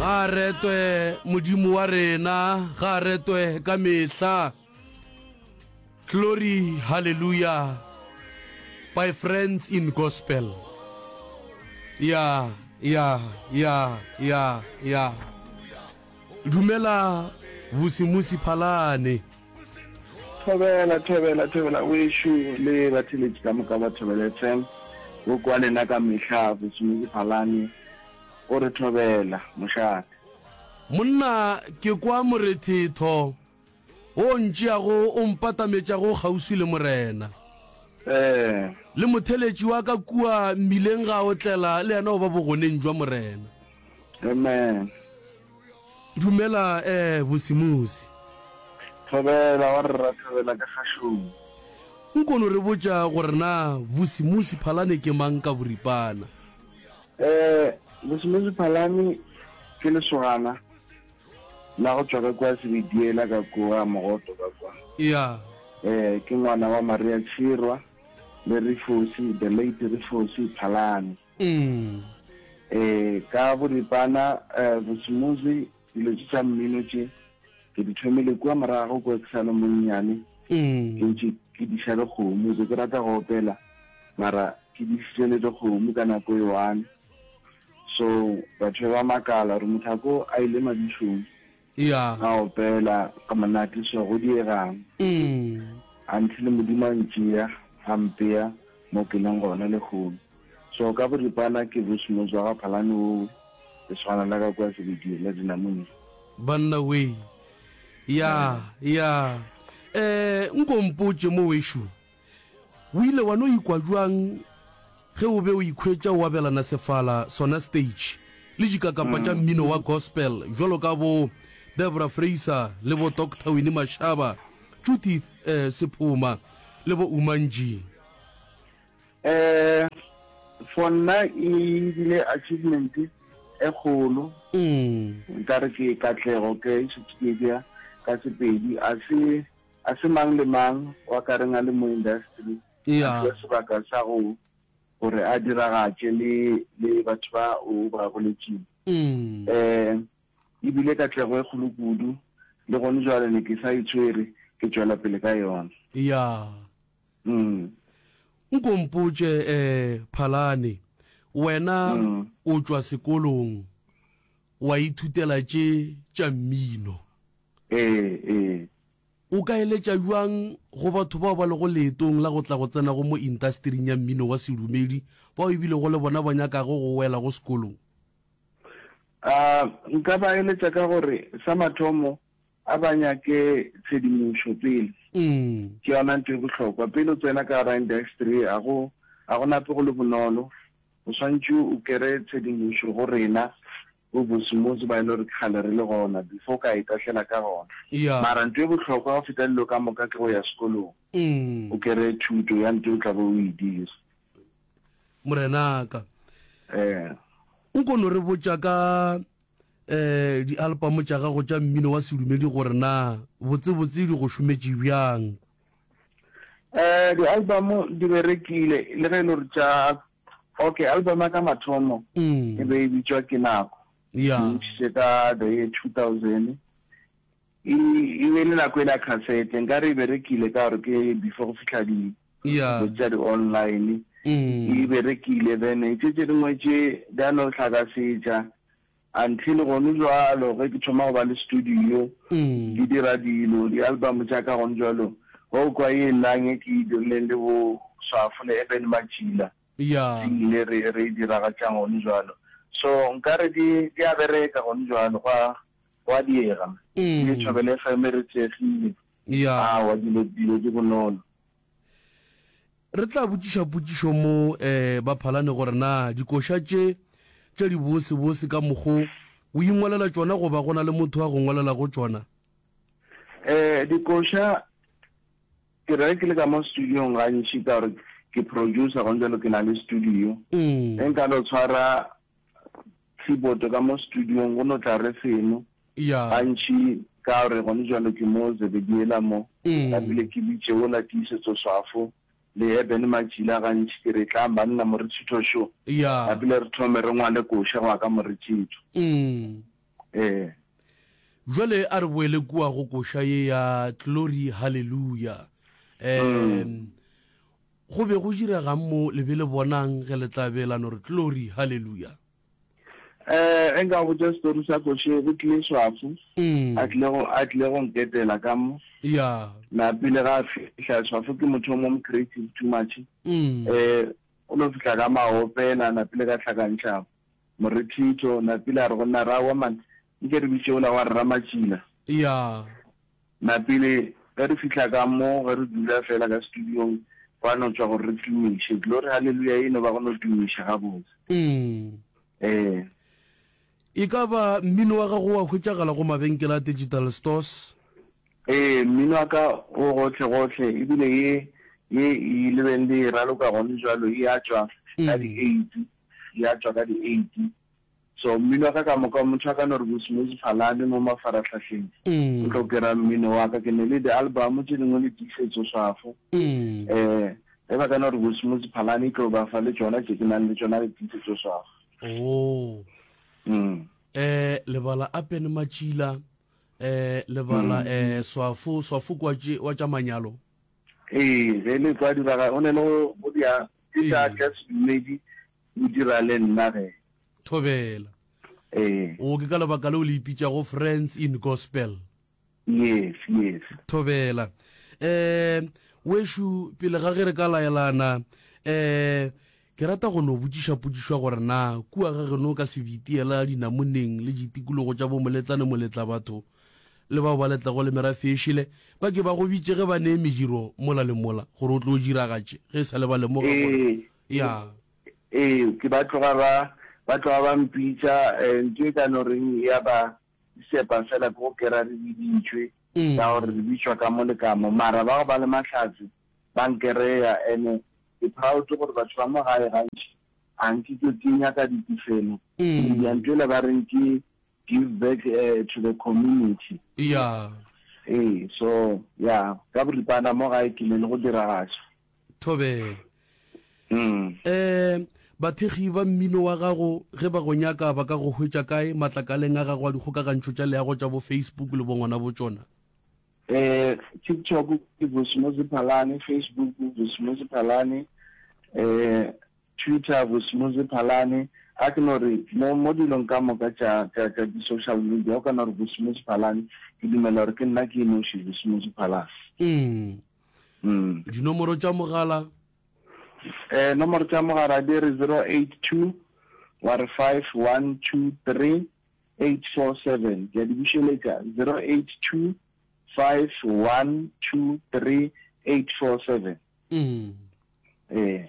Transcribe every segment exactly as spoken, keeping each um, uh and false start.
Ga retwe Modimo wa rena, ga retwe ka mehla. Glory, hallelujah. By Friends in Gospel. Ya, ya, ya, ya, ya. Dumela Vusimusi Phalane. Thobela, thobela, thobela wešo le batheletši ka moka ba Thobela F M. Go kwa lena ka mehla, Vusimusi Phalane o re thobela mošate. Monna, ke kwa morethetho wo ntšeago o mpatametšago kgauswi le Morena. Eh. Le motheletši wa ka kua mmileng ga a otlela le yena o ba bogoneng jwa Morena. Amen. Dumela eh Vusimusi. Thobela wa rra, thobela ka kgašong. Nkono re botša gore na Vusimusi Phalane ke mang ka boripana? Eh Vusimusi Phalane ke lesogana la go tšwa ka kua Sebediela ka kua Mogoto ka kua. Ya. Eh ke ngwana wa Maria Tshirwa le Rifosi, the late Rifosi Phalane. Mm. Eh ka boripana eh Vusimusi, dilo tše tša mmino tše ke di thomile kua morago kua ke sa le monnyane. Mm. Ke ntše ke diša dikgomo, be ke rata go opela mara ke dišitše le dikgomo ka nako e one. So batho ba makala gore motho a ko a ile madišong Ya. a opela ka monate, so go diegang Mm. until Modimo a ntšea a mpea mo ke leng gona lehono. So ka boripana ke Vusimusi wa ga Phalane owe, lesogana la ka kua Sebedie la Dinamune. Banna we. Ya, ya. Eh nko mpotše mo wešo. O ile wa no ikwa bjang ge o be o ikhwetša o abelana sefala sona stage le dikakapa tša mmino wa gospel bjalo ka bo Deborah Fraser le bo Doctor Winnie Mashaba, Judith eh Sephuma le bo Umanji? Eh for nna e bile achievement e kgolo. Mm. Nkare ke katlego ke šetše ke bea ka Sepedi. A se a se mang le mang wa ka reng a le mo industry a Ya. fiwa sebaka sa go gore a diragatše le le batho ba o ba boletšeng. Mm. Eh ebile katlego e kgolo kudu, le gone jwale ne ke sa itshwere, ke tšwela pele ka yona. Ya. Mm. Nko mpotše eh Phalane, wena Mm. o tšwa sekolong wa ithutela tše tša mmino. Eh eh. O ka eletša bjang go batho bao ba lego leetong la go tla go tsena go mo intastering ya mmino wa sedumedi, bao ebilego le bona ba nyakago go wela go sekolong? Ah nka ba eletša ka gore sa mathomo a ba nyake tshedimošo pele. Mm. Ke yona ntho e bohlokwa. Pele o tsena ka gara industry, a go a go nape go le bonolo. O swantše o kere tshedimošo go rena bo Vusimusi ba e le gore ke kgale re le gona before o ka itahlela ka gona. Ya. Mara ntho e bohlokwa go feta dilo ka moka ke go ya sekolong. Mm. O kere thuto ya ntho o tla be o e dira. Morenaka. Eh. Nko no re botša ka eh di-album tša gago tša mmino wa sedumedi gore na botsebotse di go šometše bjang? Eh di-album di berekile le ge e le gore tša, okay, album ya ka mathomo Mm. e be e bitšwa Ke Nako. Ya. Ke ntšhitše ka the year two thousand. E e be le nako e la cassette, nkare e berekile ka gore ke before go fihla di Ya. tša di-online. Mm. E berekile, then tše tše dingwe tše di a no hlakasetša until gone jwalo ge ke thoma go ba le studio, Mm. ke dira dilo di-album tša ka gone jwalo. Go kwa e lang e ke e dirileng le bo Swafo le Eben Matšila, Ya. le re re e diragatšang gone jwalo. So nkare di di a bereka gone jwalo, gwa gwa diega Mm. le Thobela F M re thekgile. Ya. Awa, dilo dilo di bonolo. Re tla botšiša potšišo mo eh ba Phalane gore na dikoša tše tša dibosebose ka mokgo o ingwalela tšona goba go na le motho a go ngwalelago tšona? Eh dikoša ke re ke le ka mo studiong gantši ka gore ke producer gone jalo, ke na le studio. Mm. E nka no tshwara keyboard ka mo studiong, go no tla re seno Ya. gantši ka gore gone jalo ke mo Zebediela mo. Mm. Napile ke bitše ola Tiisetso Swafo le Eben Matšila gantši, ke re tlang banna moretšhitho šo. Ya. Napile re thome re ngwale koša go ya ka moretšhitho. Mm. Ee. Jwale a re boele kua go koša ye ya Glory Hallelujah. Um, go be go diregang mo le be le bonang ge le tla be la no re Glory Hallelujah? Eh, ge nka go botša story sa koše, go tlile Swafo, Mm. a tlile go, a tlile go nketela ka mo. Ya. Na pele ga a fihla, Swafo ke motho o mong creative too much. Mm. Eh, o no fihla ka maopela, na pele ka hlakantšha morethitho, na pele a re go nna, ra wa man, nke re bitše ola wa rra Matšila. Ya. Na pele ge re fihla ka mo, ge re dula fela ka studiong, gwa no tšwa gore re tumiše. Glory Hallelujah e no ba go no tumiša gabotse. Mm. Ee. E ka ba mmino wa gago wa hwetšagala go mabenkele a digital stores? Ee, mmino wa ka o gohle gohle, ebile ye ye e lebeng le e raloka gone jwalo e a tšwa ka di eight, e a tšwa ka di eight. So mmino wa ka ka moka, motho a ka no re Bosimozi Phalane mo mafarahlahleng, o tlo kera mmino wa ka. Ke ne le di-album tše dingwe le tiisetso swafo. Eh, ge ba ka no re Bosimozi Phalane e tlo ba fa le tšona tše ke nang le tšona le tiisetso swafo. Oh. Mm. Eh, lebala Apen Matšila, eh, lebala eh, Swafo, Swafo kwa tše, wa tša manyalo. Ee, ge le kwa diraga, o ne le go, go dia, ke tša, tša sedumedi, o dira le nna ge. Thobela. Ee. O ke ka lebaka leo le ipitšago Friends in Gospel. Yes, yes. Thobela. Eh, wešo, pele ga ge re ka laelana, eh, ke rata go no botšiša potšišo ya gore na kua ga geno ka sebitiela dinamoneng le ditikologo tša bomoletlane moletla batho le bao ba letlago le merafe e šele ba ke ba go bitše ge ba nee mediro mola le mola gore o tlo diragatše ge e sa le ba lemoga gore Ee. ya. Ee, ke ba tloga ba, ba tloga ba mpitša, eh, ntho e ka no reng ya ba sepa fela ke go kera re biditšwe, ka gore re bitšwa ka mo le ka mo, mara ba go ba le mahlatse ba nkereya. Ene ke proud gore batho ba mo gae gantši a nke ke ke nyaka ditefelo, ke dia ntho ele ba reng ke give back, eh, to the community. Ya. Ee, so ya ka boripana mo gae ke ne le go diragatša. Thobela. Mm. Eh, bathekgi ba mmino wa gago ge ba go nyaka ba ka go hwetša kae matlakaleng a gago a dikgokagantšho tša leago tša bo Facebook le bongwana bo tšona? Eh, TikTok ke Bosimozi Phalane, Facebook Bosimozi Phalane, eh, Twitter Bosimozi Phalane. A ke no re mo, mo dilong ka moka tša, tša, tša di-social media, o ka no re Bosimozi Phalane, ke dumela gore ke nna ke noši Bosimozi Phalane. Mm. Mm. Dinomoro tša mogala? Eh, nomoro tša mogala di re zero eight two, wa re five one two three eight four seven. Ke a di bušeletša, zero eight two five one two three eight four seven. Mm. Eh.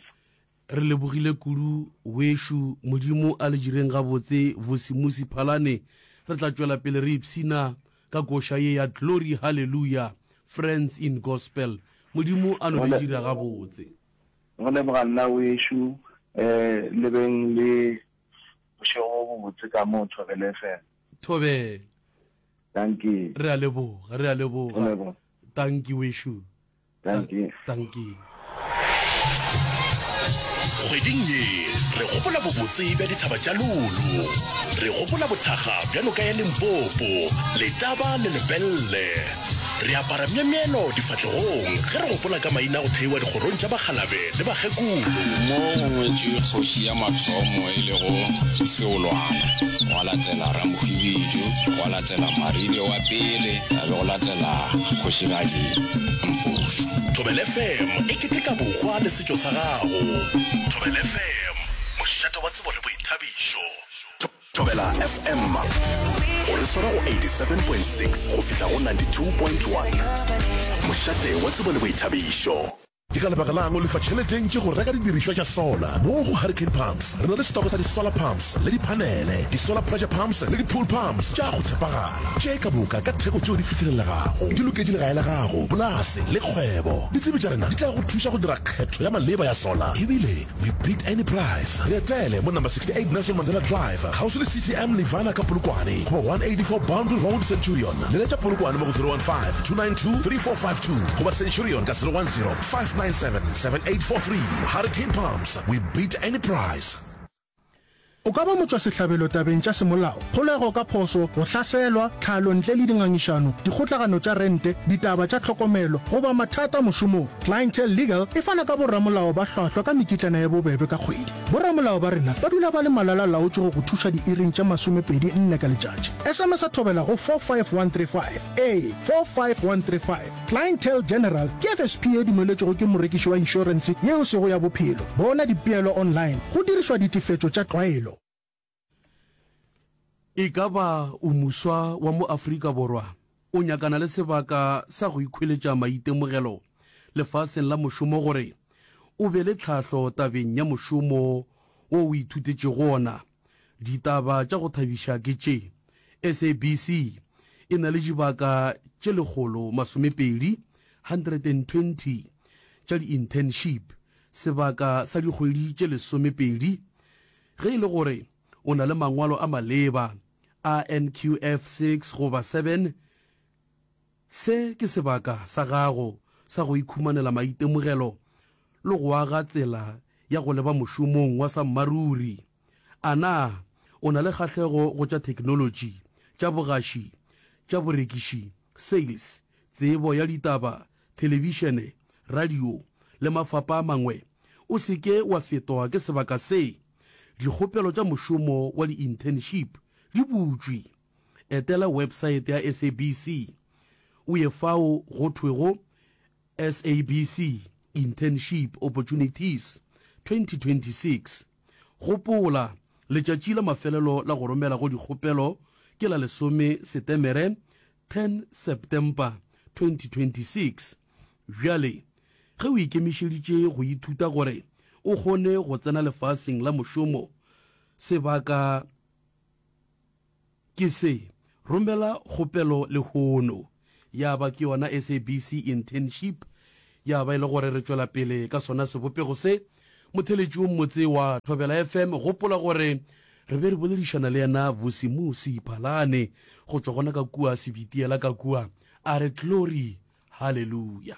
Re lebogile kudu wešo, Modimo a le direng gabotse. Vusimusi Phalane, re tla tšwela pele re ipshina ka koša ye ya Glory Hallelujah, Friends in Gospel. Modimo a no le dira gabotse. Go leboga nna wešo, eh, le beng le bošego bo bobotse ka mo Thobela F M. Thobela. Dankie. Re a leboga, re a leboga. Go leboga. Dankie wešo. Dankie. Dankie. Kgweding ye re gopola bobotse bja dithaba tša Lulu. Re gopola bothakga bja noka ya Limpopo, Letaba le Lepelle. Re apara myemyelo difahlegong ge re gopola ka maina go theiwa dikgorong tša bakgalabe le bakgekolo. Mo go ngwetšwe kgoši ya mathomo e lego Seolwana, gwa latela Ramohwibidu, gwa latela Maribe wa pele, a be go latela kgošigadi Mpošo. Thobela F M e keteka bohwa le setšo sa gago. Thobela F M, mošate wa tsebo le boithabišo. Thobela F M, o re swara go eighty-seven point six go fihla go ninety-two point one. Mošate wa tsebo le boithabišo. Ke ka lebaka lang o lefa tšhelete e ntši go reka didirišwa tša solar? Mo go Hurricane Pumps re na le stoko sa di-solar pumps le diphanele, di-solar pressure pumps le di-pool pumps tša go tshepagala, tše ka moka ka theko tšeo di fihlelelegago. Di loketše legae la gago, polase le kgwebo. Ditsebi tša rena di tla go thuša go dira kgetho ya maleba ya solar, ebile we beat any price. Re etele mo number sixty-eight Nelson Mandela Drive, kgauswi le C T M Nirvana ka Polokwane, goba one eighty-four Boundary Road Centurion. Leletša Polokwane mo go zero one five, two nine two, three four five two goba Centurion ka zero one zero, five nine seven, seven eight four three. Hurricane Pumps, we beat any price. O ka ba motšwasehlabelo tabeng tša semolao, kgolego ka phošo, go hlaselwa, tlhalo ntle le dingangišano, dikgotlagano tša rente, ditaba tša tlhokomelo, goba mathata mošomong. Clientele Legal e fana ka boramolao ba hlwahlwa ka mekitlana ye bobebe ka kgwedi. Boramolao ba rena ba dula ba le malala-laotšwe go go thuša diiring tše masomepedi nne ka letšatši. S M S Thobela go four five one three five. Ee, four five one three five. Clientele General ke F S P ye dumeletšwego ke morekiši wa inšorense yeo e sego ya bophelo. Bona dipeelo online go dirišwa ditefetšo tša tlwaelo. E ka ba o moswa wa mo Afrika Borwa o nyakana le sebaka sa go ikhweletša maitemogelo lefaseng la mošomo gore o be le tlhahlo tabeng ya mošomo wo o ithutetšego ona? Ditaba tša go thabiša ke tše, S A B C e na le dibaka tše lekgolo masomepedi, hundred and twenty tša di-internship sebaka sa dikgwedi tše lesomepedi. Ge e le gore o na le mangwalo a maleba a N Q F six goba seven, se ke sebaka sa gago sa go ikhumanela maitemogelo le go aga tsela ya go leba mošomong wa sammaruri. A na o na le kgahlego go tša theknolotši, tša bogaši, tša borekiši, sales, tsebo ya ditaba, thelebišene, radio le mafapa a mangwe? O se ke wa fetwa ke sebaka se. Dikgopelo tša mošomo wa di-internship di butšwe. Etela websaete ya S A B C o ye fao go thwego S A B C Internship Opportunities twenty twenty-six. Gopola, letšatši la mafelelo la go romela go dikgopelo ke la lesome Setemere, ten September twenty twenty-six. Bjale ge o ikemišeditše go ithuta gore o kgone go tsena lefaseng la mošomo, sebaka ke se. Romela kgopelo lehono. Ya ba ke yona S A B C internship, ya ba e le gore re tšwela pele ka sona sebopego se. Motheletši o mmotse wa Thobela F M, gopola gore re be re boledišana le yena Vusimusi Phalane go tšwa gona ka kua Sebitiela ka kua. A re glory hallelujah.